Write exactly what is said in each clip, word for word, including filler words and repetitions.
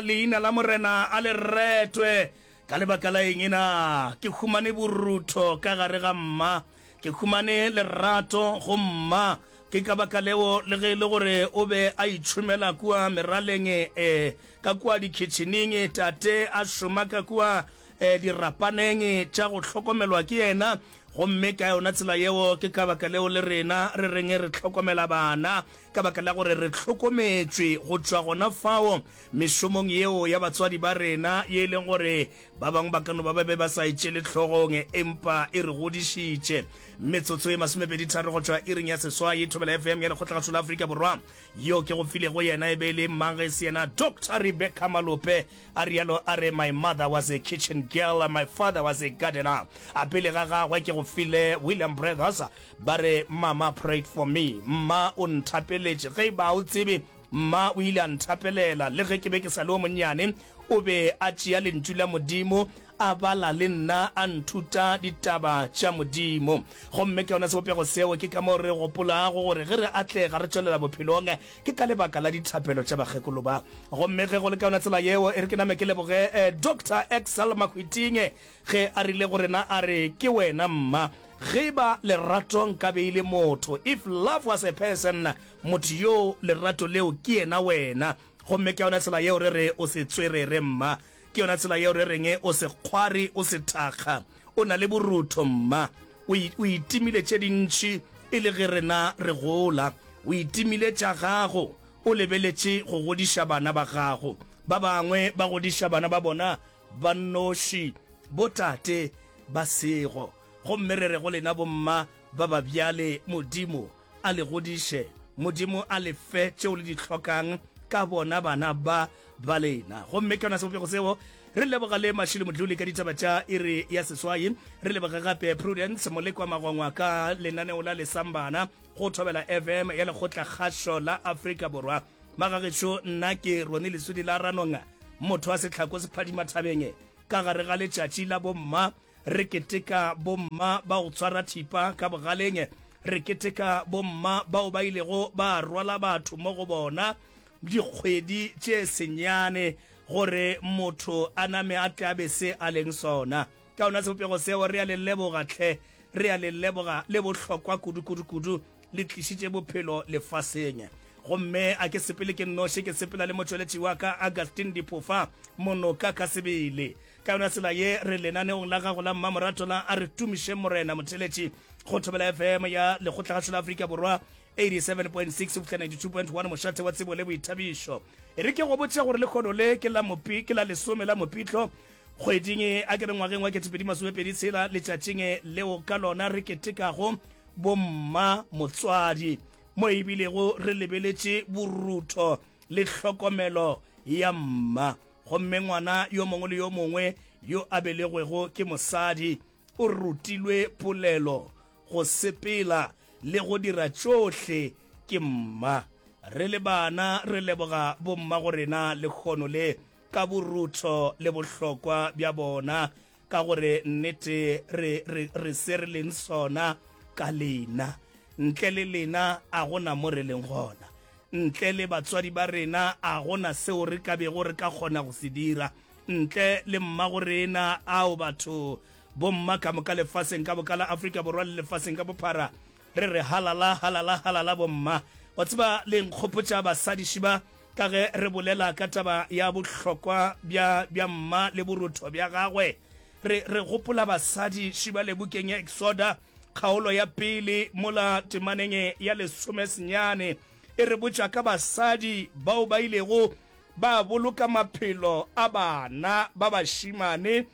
Leina la Morena a le retwe. Ka lebaka la eng na? Ke humane borutho ka gare ga mma. Ke humane lerato go mma. Ke ka baka leo le ge e le gore o be a itšhomela kua meraleng, e, ka kua dikhitšhining, tate a šoma ka kua e, dirapaneng tša go hlokomelwa ke yena. Gomme ka yona tsela yeo, ke ka baka leo le rena re reng re hlokomela bana, ka baka la gore re hlokometšwe go tšwa gona fao mešomong yeo ya batswadi ba rena, ye e leng gore ba bangwe ba ka no ba ba be ba sa e tšele hlogong, empa e re godišitše. Metsotso e masomepedi tharo go tšwa iring ya seswai, Thobela F M ya Lekgotlagašo la Afrika Borwa. Yo ke go filego yena e be e le mang ge e se yena Doctor Rebecca Malope? A rialo a re, My mother was a kitchen girl, my father was a gardener. A pele ga gagwe ke go file William Brothers, ba re, Mama prayed for me. Mma o nthapeletše. Ge e ba o tsebe, mma o ile a nthapelela. Le ge ke be ke sa le o monnyane, o be a tšea Lentšu la Modimo, a bala le nna, a nthuta ditaba tša Modimo. Gomme ka yona sebopego seo, ke ka moo re gopolago gore ge re atlega, re tšwelela bophelong, ke ka lebaka la dithapelo tša bakgekolo ba. Gomme ge go le ka yona tsela yeo, e re ke name ke leboge eh, Doctor Excel Mahwiting ge a rile go rena a re, Ke wena mma. Ge e ba lerato nka be e le motho, if love was a person, motho yoo lerato leo ke yena wena. Gomme ka yona tsela yeo re re o se tswerere mma. Ke yona tsela yeo re reng o se kgwari, o se thakga. O na le borutho mma. O, o itimile tše dintši e le ge rena re gola. O itimile tša gago, o lebeletše go godiša bana ba gago. Ba bangwe ba godiša bana ba bona ba nnoši, botate ba sego. Gomme re re go lena bomma ba ba bjale, Modimo a le godiše, Modimo a le fe tšeo le di hlokang ka bona bana ba ba lena. Gomme ke yona sebopego seo. Re leboga le Mashilo Modluli ka ditaba tša iri ya seswai. Re leboga gape Prudence Molekwa Magwangwa ka lenaneo la Lesambana go Thobela F M ya Lekgotla Kgašo la Afrika Borwa. Magagešo, nna ke Roni Lesudi la Ranong, motho wa sehlako sephadima thabeng ka gare ga letšatši la bomma. Re keteka bomma ba go tshwara thipa ka bogaleng. Re keteka bomma bao ba ilego ba rwala batho mo go bona dikgwedi tše senyane gore motho a name a tle a be se a leng sona. Ka yona sebopego seo, re a le leboga hle, re a le leboga, le bohlokwa kudu, kudu, kudu, le tlišitše bophelo lefaseng. Gomme a ke sepele ke nnoši, ke sepela le motšweletši wa ka, Augustine Diphofa, monoka ka sebele. Ka yona tsela ye, re lenaneong la gago la mmamoratwa la A Re Tumišeng Morena, motheeletši go Thobela F M ya Lekgotlagašo la Afrika Borwa, eighty-seven point six go fihla ninety-two point one, mošate wa tsebo le boithabišo. E re ke go botše gore lehono le ke la mopi, ke la lesome la Mopitlo, kgweding, a ke re ngwageng wa ketepedi masomepedi tshela, letšatšing leo ka lona re ketekago bomma motswadi, mo e bilego re lebeletše borutho le hlokomelo ya mma. Gomme ngwana yo mongwe le yo mongwe yo a belegwego ke mosadi o rutilwe polelo, go sepela le go dira tšohle ke mma. Re le bana re leboga bommagorena lehono le ka borutho le bohlokwa bja bona, ka gore nnete re, re, re se re leng sona ka lena. Ntle le lena a go na mo re leng gona. Ntle le batswadi ba rena a go na seo re ka bego re ka kgona go se dira. Ntle le mmago rena, ao batho, bomma ka moka lefaseng ka moka la Afrika Borwa le lefaseng ka bophara, re re halala, halala, halala bomma. Wa tseba, le nkgopotša basadi šiba ka ge re bolela ka taba ya bohlokwa bja, bja mma le borutho bja gagwe. Re, re gopola basadi šiba le bukeng ya Exoda, kgaolo ya pele mola temaneng ya lesome senyane e re botša ka basadi bao ba ilego ba boloka maphelo a bana ba bašemane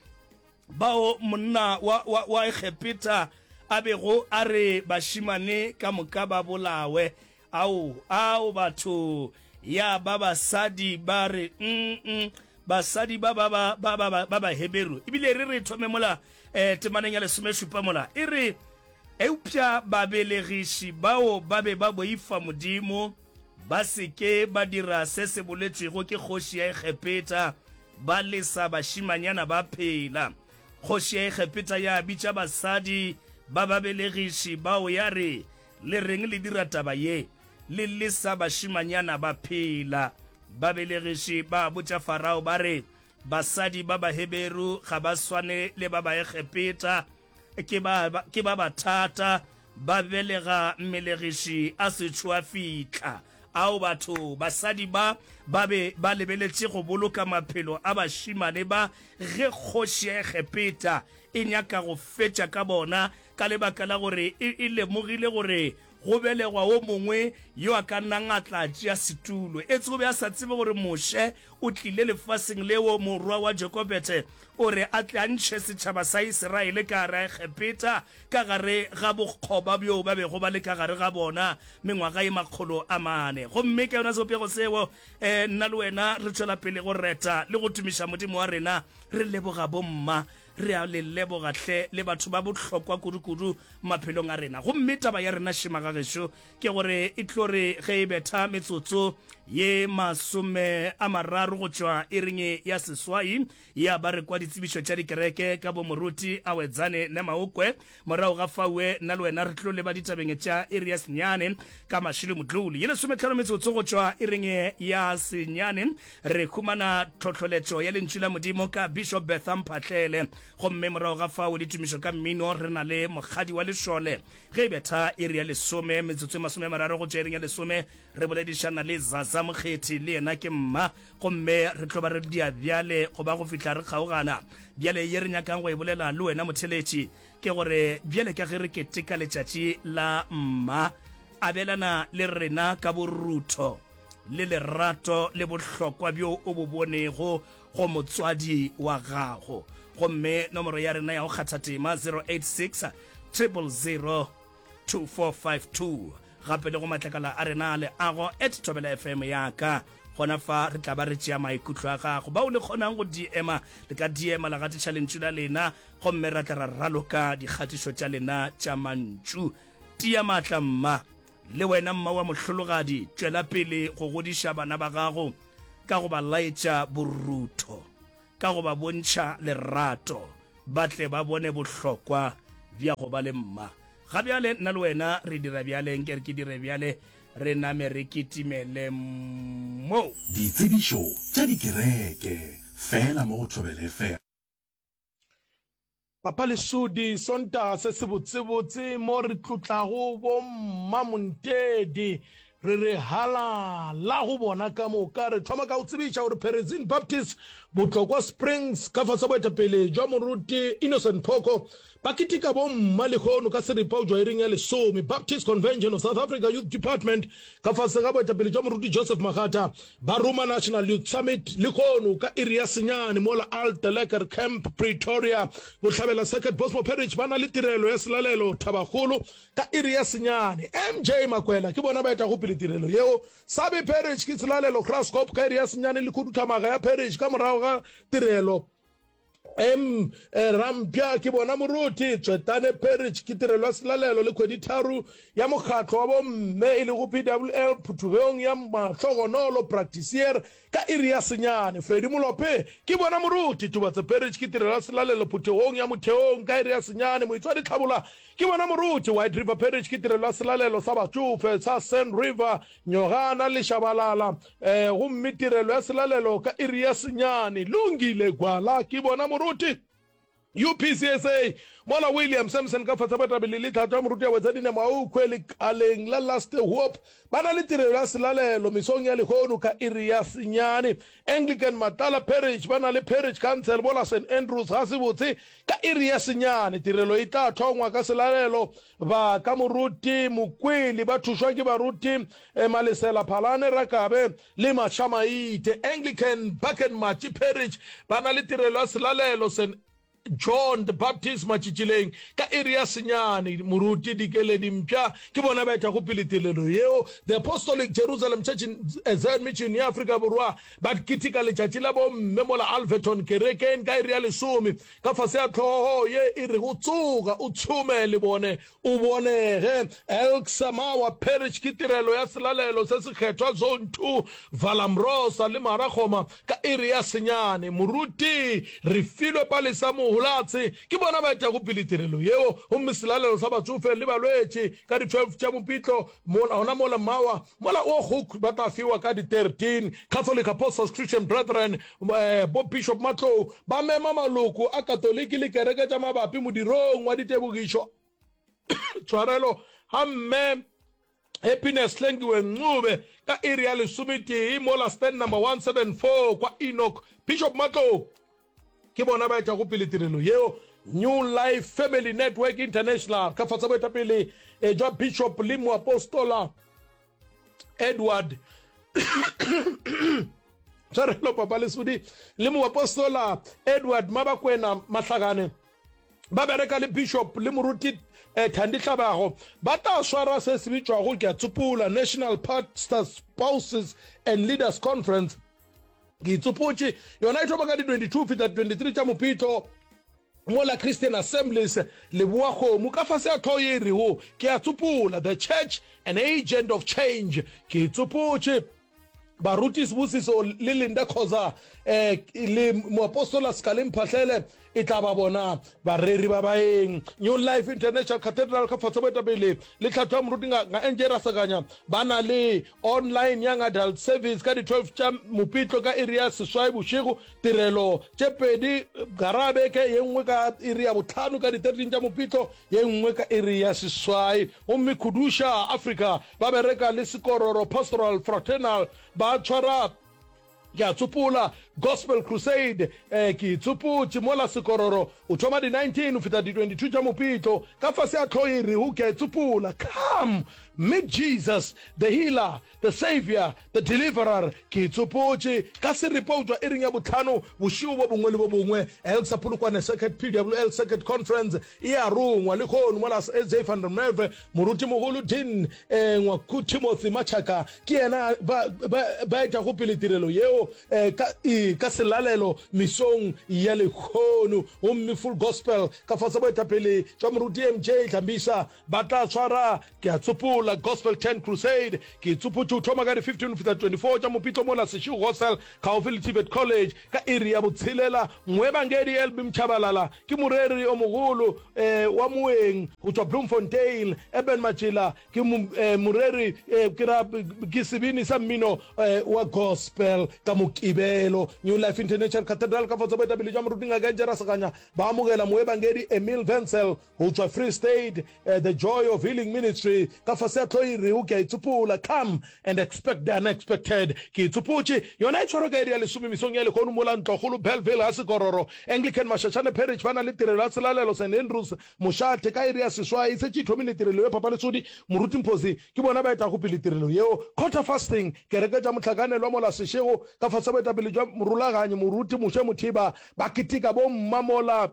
bao monna wa, wa, wa Egepeta a bego a re bašemane ka moka ba bolawe. Ao, ao batho, ya ba basadi ba re, mm, basadi ba ba ba ba ba ba Baheberu. Ebile re re thome mola eh, temaneng ya lesomešupa mola e re, eupša babelegiši bao ba be ba boifa Modimo, ba se ke ba dira se se boletšwego ke kgoši ya Egepeta, ba lesa bašimanyana ba phela. Kgoši ya Egepeta ya bitša basadi ba babelegiši bao ya re, Le reng le dira taba ye, le lesa bašimanyana ba phela? Babelegiši ba botša Farao ba re, Basadi ba Baheberu ga ba swane le ba Baegepeta, ke ba, ke ba bathata, ba belega mmelegiši a sešo a fihla. Ao batho, basadi ba ba be ba lebeletše go boloka maphelo a bašemane ba ge kgoši ya Egepeta e nyaka go fetša ka bona ka lebaka la gore e, e lemogile gore go belegwa wo mongwe yo a ka nnang a tla tšea setulo. Etse o be a sa tsebe gore Moshe o tlile lefaseng leo, morwa wa Jokobete, o re a tle a ntšhe setšhaba sa Isiraele ka gare a Egepeta, ka gare ga bokgoba bjo ba bego ba le ka gare ga bona mengwaga ye makgolo a mane. Gomme ka yona sebopego seo, eh, nna le wena re tšwela pele go reta le go tumiša Modimo wa rena, re leboga bomma. Re a le leboga hle, le batho ba bohlokwa kudu-kudu maphelong a rena. Gomme taba ya rena šema ga gešo ke gore e tlo re ge e betha metsotso ye masome a mararo go tšwa iring ya seswai ya ba re kwa ditsebišo tša dikereke ka bo Moruti Awedzane Nemaokwe. Morago ga faue nna le wena re tlo leba ditabeng tša iri ya senyane ka Mashilo Modluli. Ye lesometlhano metsotso go tšwa iring ya senyane re humana tlhohloletšo ya Lentšu la Modimo ka Bishop Bertha Mphahlele. Gomme morago ga fao ditumišo ka mmino re na le Mokgadi wa Lešole. Ge e betha iri ya lesome metsotso e masome a mararo go tšwa iring ya lesome re boledišana le Zaza Mokgethi, le yena ke mma, gomme re tlo ba re dia bjale go ba go fihla re kgaogana. Bjale ye re nyakang go e bolela le wena motheletši ke gore bjale ka ge re keteka letšatši la mma, abelana le rena ka borutho le lerato le bohlokwa bjo o bo bonego go motswadi wa gago. Gomme nomoro ya rena ya go kgatha tema zero eight six triple zero two four five two. Gape le go matlakala a rena a leago at Thobela F M ya ka. Gona fa re tla ba re tšea maikutlo a gago. Bao le kgonang go D M-a, le ka D M-a la gatiša lentšu la lena, gomme ra tla ra raloka dikgatišo tša lena tša mantšu. Tia maatla mma. Le wena mma wa mohlologadi, tšwela pele go godiša bana ba gago ka go ba laetša borutho, ka go ba bontšha lerato, ba tle ba bone bohlokwa bja go ba le mma. Ga bjale nna le wena re dira bjale, nke re ke dire bjale, re name re kitimele mo. Ditsebišo tša dikereke, feela mo go Thobela F M. Papa Lesodi, Sontaga se sebotsebotse mo re tlotlago bo Mma Montedi, re re halala go bona ka moka. Re thoma ka go tsebiša gore Perezine Baptist Botlokwa Springs ka fase boetapele jwa Moruti Innocent Phoko ba keteka bo mma lehono ka seripa go tšwa iring ya lesome. Baptist Convention of South Africa Youth Department ka fase ga boetapele jwa Moruti Joseph Magata ba roma National Youth Summit lehono ka iri ya senyane mola Alte Lekker Camp Pretoria Bohlabela Circuit Bosmo Parish ba na le tirelo ya selalelo Thabakgolo ka iri ya senyane. M J Makwela ke bona ba etago pele tirelo yeo. Sabi Parish ke selalelo Graskop ka iri ya senyane le khuduthamaga ya Parish ka morago ga tirelo. M Rampja ke bona moruti. Tswetane Parish ke tirelo ya selalelo le kgweditharo ya mokgatlo wa bomme e lego P W L phuthugong ya Mahlogonolo Practisier ka iri ya senyane. Freddy Molope ke bona moruti. Tubatse Parish ke tirelo ya selalelo phuthegong ya Motheong ka iri ya senyane. Moitswadi Tlhabola ke bona moruti. White River Parish ke tirelo ya selalelo sa batšofe sa Sand River Nyogana le Shabalala, eh, gomme tirelo ya selalelo ka iri ya senyane. Lungile Gwala ke bona moruti. U P C S A, mola William Sampson ka fase boetapele le tlhatlo ya moruti ya Wetsadine Maukwe lekaleng la Last Hope ba na le tirelo ya selalelo mesong ya lehono ka iri ya senyane. Anglican Matala Parish ba na le Parish Council mola Saint Andrews ga se botse ka iri ya senyane. Tirelo e tla thongwa ka selalelo ba ka moruti Mokwele ba thušwa ke baruti Malesela Phalane Rakabe le Mashamaite. Anglican Bucket Matši Parish ba na le tirelo ya selalelo Saint John the Baptist Matšitšileng ka iri ya senyane. Moruti Dikeledi Mpša ke bona ba etago pele tirelo yeo. The Apostolic Jerusalem Church in Zion Mission ya Afrika Borwa ba keteka letšatši la bomme mola Alverton kerekeng ka iri ya lesome ka fase ya hlogo ye e rego Tsoga o tšhome le bone o bonege. Elk Samawa Parish ke tirelo ya selalelo se sekgethwa Zone two Valambrosa le Marakgoma ka iri ya senyane. Moruti Refilwe Palesa Mohu Mohulatse ke bona ba etago pele tirelo yeo, gomme selalelo sa batsofe le balwetši ka di twelve tša Mopitlo mola gona mola Mawa mola o Hoek ba tla fiwa ka di thirteen. Catholic Apostles Christian Brethren bo Bishop Matlou ba mema maloko a Katoliki le kereke tša mabapi modirong wa ditebogišo tshwarelo ga Mme Happiness Hlengiwe Ncube ka iri ya lesometee mola stand number one seven four kwa Enoch. Bishop Matlou ke bona ba etšago pele tirelo yeo. New Life Family Network International ka fase boetapele jwa Bishop le Moapostola Edward tshwarelo Papa Lesodi le Moapostola Edward Mabakwena Mahlakane ba bereka le Bishop le Moruti eh, Thandi Hlabago ba tla swara se se bitšwago ke a tsopola National Pastors Spouses and Leaders Conference. Ke itsopotše yona e thoma ka di twenty-two fihla twenty-three tša Mopitlo mola Christian Assemblies Leboa Kgomo ka fase ya tlhogo ye e rego ke a tsopola The Church an Agent of Change. Ke itsopotše Baruti Sibusiso le Linda Khoza eh, le Moapostola Sekale Mphahlele e tla ba bona bareri ba baeng. New Life International Cathedral ka fase boetapele le tlhatho ya moruti nga, nga N J Rasakanya ba na le online Young Adult Service ka di twelve tša Mopitlo ka iri ya seswai bošego, tirelo tše pedi gara beke, ye nngwe ka iri ya bohlano ka di thirteen tša Mopitlo, ye nngwe ka iri ya seswai. Gomme Khuduša Africa ba bereka le Sekororo Pastoral Fraternal ba tshwara ke a tsopola Gospel Crusade, eh, ke tsopotše mola Sekororo o thoma di nineteen o fihla di twenty-two tša Mopitlo ka fase ya tlhogo e rego ke a tsopola Come meet Jesus the healer the savior the deliverer. Ke tsopotše ka seripa o tšwa iring ya bohlano bošego bo bongwe le bo bongwe. Elsa Polokwane Circuit P W L Circuit Conference e a rongwa lehono mola S J van der Merwe morutimogolo Dean eh, Ngwaku Timothy Machaka ke yena ba, ba, ba etago pele tirelo yeo eh, ka, e, ka selalelo mesong ya lehono. Gomme Full Gospel ka fase boetapele jwa moruti M J Hlambisa ba tla tshwara ke a tsopola Gospel Tent Crusade. Ke tsopotše o thoma ka di fifteen go fihla twenty-four tša Mopitlo mola Seshego Hostel kgaufsi le Tibet College ka iri ya botshelela. Moebangedi L B Mchabalala ke moreri o mogolo eh, wa moeng go tšwa Bloemfontein. Eben Matšela ke eh, moreri eh, ke ra ke sebini sa mmino eh, wa gospel ka Mokibelo. New Life International Cathedral ka fase boetapele jwa moruti Ngaka N J Raseganya ba amogela moebangedi Emil Wenzel go tšwa Free State. eh, The Joy of Healing Ministry ka fase ya tlhogo e rego ke a itsopola Come and Expect the Unexpected. Ke itsopotše yona e tshwarwa ka iri ya lesome mesong ya lehono mola Ntlokgolo Bellville ga Sekororo Anglican Mashashane Parish ba na le tirelo ya selalelo Saint Andrews Mošate ka iri ya seswai e šetše e thomile tirelo ye Papa Lesodi Moruti Mphosi ke bona ba etago pele tirelo yeo. Quarter Fasting kereke tša mohlakanelwa mola Seshego ka fase boetapele jwa morulaganyi Moruti Moshe Mothiba ba keteka bomma mola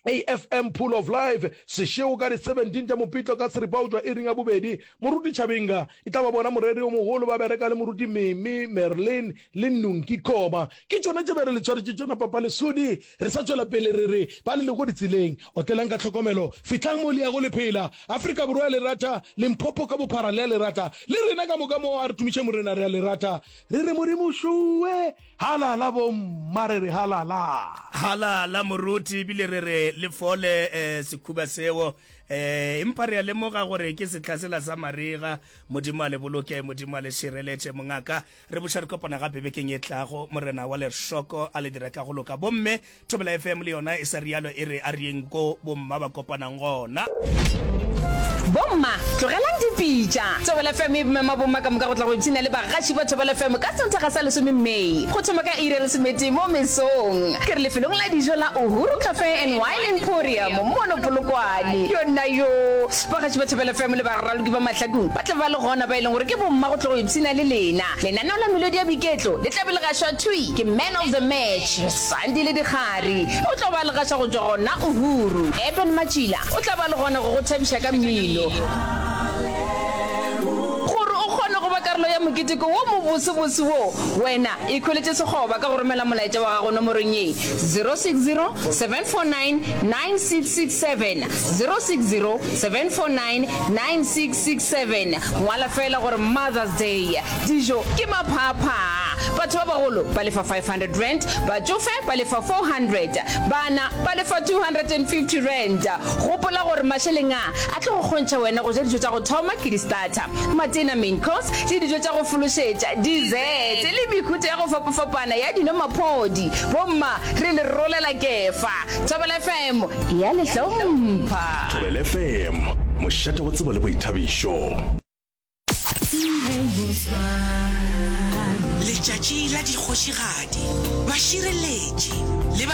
A F M Pool of Life sešego ka di seventeen tša Mopitlo ka seripa go tšwa iring ya bobedi. Moruti Chabinga e tla ba bona moreri yo mogolo ba bereka le Moruti Mimi, Merlin le Nunki Koma. Ke tšona tše be re le tshwaretše tšona Papa Lesodi. Re sa tšwela pele re re ba le lego ditseleng, otlelang ka tlhokomelo, fihlang mo le yago le phela. Afrika Borwa ya le rata, Limpopo ka bophara le a le rata, le rena ka moka mo a re tumiše Morena re a le rata. Re re Modimo šuwe! Halala bomma re re halala. Halala moruti ebile re re le fole eh, sekhuba seo eh, empa re a lemoga gore ke sehla sela sa marega. Modimo a le boloke, Modimo a le šireletše mongaka. Re buša re kopana gape bekeng e tlago. Morena wa lešoko a le dire ka go loka. Bomme Thobela F M le yona e sa rialo e re a re yeng ko bomma ba kopanang gona. Bomma, tlogelang dipitša. Thobela F M e mema bomma ka moka go tla go ipshina le bagaši ba Thobela F M ka Sontaga sa lesome May go thoma ka iri ya lesometee mo mesong. Ke re lefelong la dijo la Uhuru Cafe and Wine Emporium mono Polokwane. Yona yo! Bagaši ba Thobela F M le baraloki ba mahlakong ba tla ba le gona ba e leng gore ke bomma go tla go ipshina le lena. Lenaneo la melodi ya boiketlo le tla be le gašwa thwi ke Man of the Match Sandile Dikgari. O tlo ba le gaša go tšwa gona Uhuru. Eben Matšila o tla ba le gona go go thabiša ka mmino. Gore o kgone go ba karolo ya moketeko wo mobosebose wo, wena ikhweletše sekgoba ka go romela molaetša wa gago nomorong ye, zero six zero, seven four nine, nine six six seven, zero six zero, seven four nine, nine six six seven. Ngwala feela gore Mother's Day. Dijo ke maphaaphaa. Batho ba bagolo ba lefa five hundred rand, batšofe ba lefa four hundred, bana ba lefa two hundred and fifty rand. Gopola gore mašeleng a a tlo go kgontšha wena go ja dijo tša go thoma ke di-starter, matena, main course, le dijo tša go fološetša, dessert, le mehuta ya go fapafapana ya dino maphodi. Bomma, re le rolela kefa. Thobela F M e a le hlompha. Thobela F M, mošate wa tsebo le boithabišo. Letšatši la dikgošigadi, bašireletši le